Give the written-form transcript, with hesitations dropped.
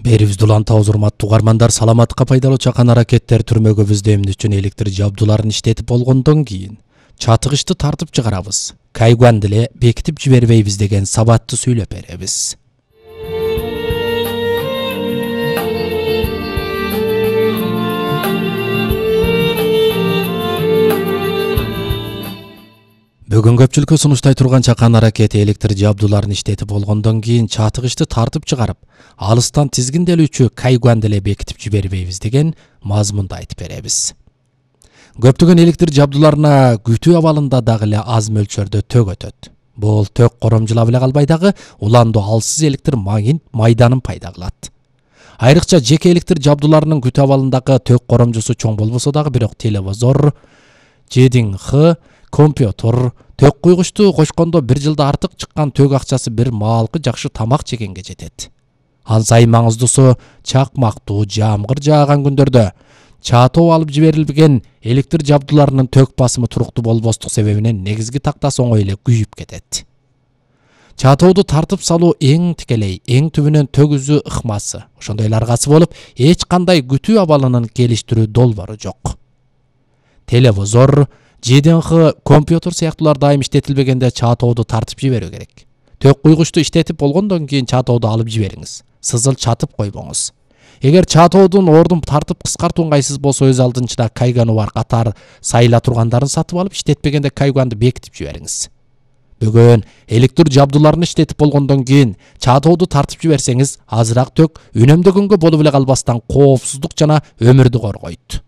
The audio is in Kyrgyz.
Берибизди улантабыз, урматтуу угармандар. Саламатка пайдалуу чакан аракеттер түрмөгөбүздө эмне үчүн электр жабдууларын иштетип болгондон кийин чатыгычты тартып чыгарабыз, кайгуанды эле бекитип жибербейбиз деген сабатты сүйлөп беребиз. Бүгүн көпчүлүккө сунуштай турган чакан аракети электр жабдууларын иштетип болгондон кийин чатыгычты тартып чыгарып, алыстан тизгинделүүчү кайгуанды эле бекитип жибербейбиз деген мазмунду айтып беребиз. Көптөгөн электр жабдууларына күтүү абалында дагы эле аз мөлчөрдө ток өтөт. Бул ток коромжулап эле калбай дагы уланду алсыз электр майданын пайда кылат. Айрыкча жеке электр жабдууларынын күтүү абалындагы ток коромжусу чоң болбосо дагы, бирок телевизор, ЖДХ, компьютер, ток куйгучту кошкондо 1 жылда артык чыккан ток акчасы бир маалкы жакшы тамак жегенге жетет. Ал сайын маңыздуусу, чакмактуу, жамгыр жааган күндөрдө чатоо алып жиберилген электр жабдууларынын ток басымы туруктуу болбостук себебинен негизги тактасы оңой эле күйүп кетет. Чатооду тартып салуу эң тикелей, эң түбүнөн ток үзүү ыкмасы, ошондой эле аргасы болуп, эч кандай күтүү абалынын келиштирүү долбоору жок. Телевизор, ЖДХ, компьютер сыяктуулар дайым иштетилбегенде чатооду тартып жиберүү керек. Ток куйгучту иштетип болгондон кийин чатооду алып жибериңиз. Сызыл чатып койбоңуз. Эгер чатоодун ордун тартып кыскартуу ыңгайсыз болсо, өз алдынча кайганы бар катар сайыла тургандарын сатып алып, иштетпегенде кайгуанды бекитип жибериңиз. Бүгүн электр жабдууларын иштетип болгондон кийин чатооду тартып жиберсеңиз, азыраак ток үнөмдөгөнгө болуп эле калбастан коопсуздук жана өмүрдү коргойт.